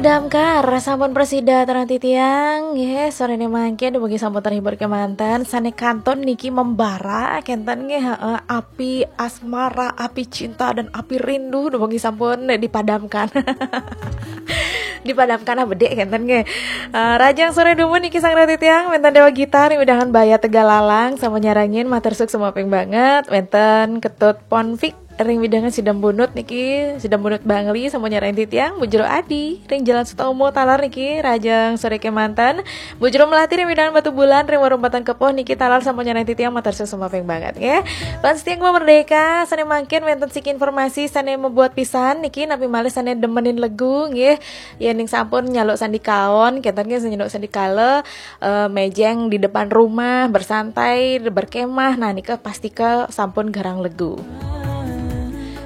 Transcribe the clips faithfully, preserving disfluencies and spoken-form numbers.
Damkar, sampun prasida, tarang titiang. Nggih, sorene mangkin dumugi sampun terhibur kemanten. Sane kantun niki membara, kenten nggih, heeh, api asmara, api cinta dan api rindu dumugi sampun dipadamkan. Dipadamkan ah bedik kenten nggih. Eh, rahajeng sore dumun niki sareng titiang, wenten Dewa Gitar ring wewidangan Baya Tegalalang, sampun nyarengin matur suksma ping banget, wenten Ketut Ponfik ring wewidangan Sidembunut niki, Sidembunut Bangli sampun nyarengin titiang, Bu Jero Adi ring Jalan Sutomo taler niki, rahajeng sore kemanten, Bu Jero Melati ring wewidangan Batubulan ring Warung Batang Kepuh niki taler sampun nyarengin titiang, matur suksma ping banget nggih. Fans setia Gema Merdeka, sane mangkin wenten siki informasi sane mabuat pisan niki, napi malih sane demenin legu nggih. Yening sampun nyaluk sandikaon, kenten nggih, nyaluk sandikala, eh, mejeng di depan rumah, bersantai, berkemah, nah nika pastika sampun garang legu.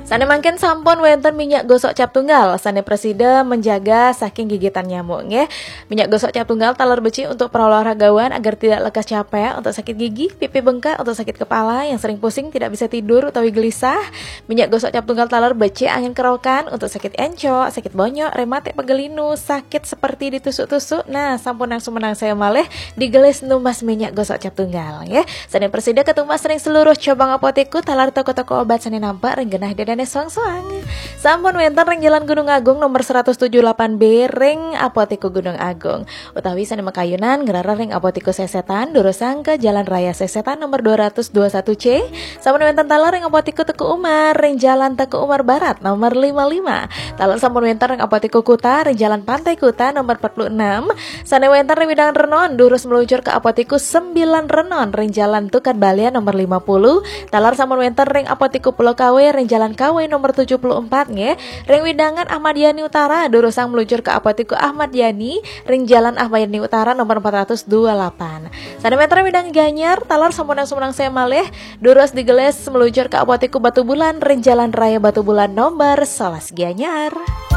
Sane mangkin sampun wenten minyak gosok cap tunggal sane prasida menjaga saking gigitan nyamuk nggih. Minyak gosok cap tunggal taler becik untuk para olahragawan agar tidak lekas capek, untuk sakit gigi, pipi bengkak, untuk sakit kepala, yang sering pusing, tidak bisa tidur utawi gelisah. Minyak gosok cap tunggal taler becik angin kerokan untuk sakit encok, sakit bonyok, rematik, pegal linu, sakit seperti ditusuk-tusuk. Nah, sampun nang sumenang saya malih digelis numbas minyak gosok cap tunggal nggih. Sane prasida katumbas ring seluruh cabang apotekku taler toko-toko obat sane nampak ring genah dedane soang-soang. Sampun wenten ring Jalan Gunung Agung nomor seratus tujuh delapan B ring Apotekku Gunung Agung. Utawi sane makayunan ngrereh ring Apotekku Sesetan, durusang ke Jalan Raya Sesetan nomor dua ratus dua satu C. Sampun wenten taler ring Apotekku Teuku Umar ring Jalan Teuku Umar Barat nomor lima lima. Taler sampun wenten ring Apotekku Kuta ring Jalan Pantai Kuta nomor empat puluh enam. Sane wenten ring wewidangan Renon, durus meluncur ke Apotekku Sembilan Renon ring Jalan Tukad Balian nomor lima puluh. Taler sampun wenten ring Apotekku Pulau Kawe ring Jalan Kawe nomor tujuh puluh empat nggih. Ring wewidangan Ahmad Yani Utara, durusang meluncur ke Apotekku Ahmad Yani ring Jalan Ahmad Yani Utara nomor empat ratus dua puluh delapan. Sane wenten ring wewidangan Gianyar, taler sampun nang sumenang saya malih, durus digelis meluncur ke Apotekku Batubulan ring Jalan Raya Batubulan nomor sebelas Gianyar.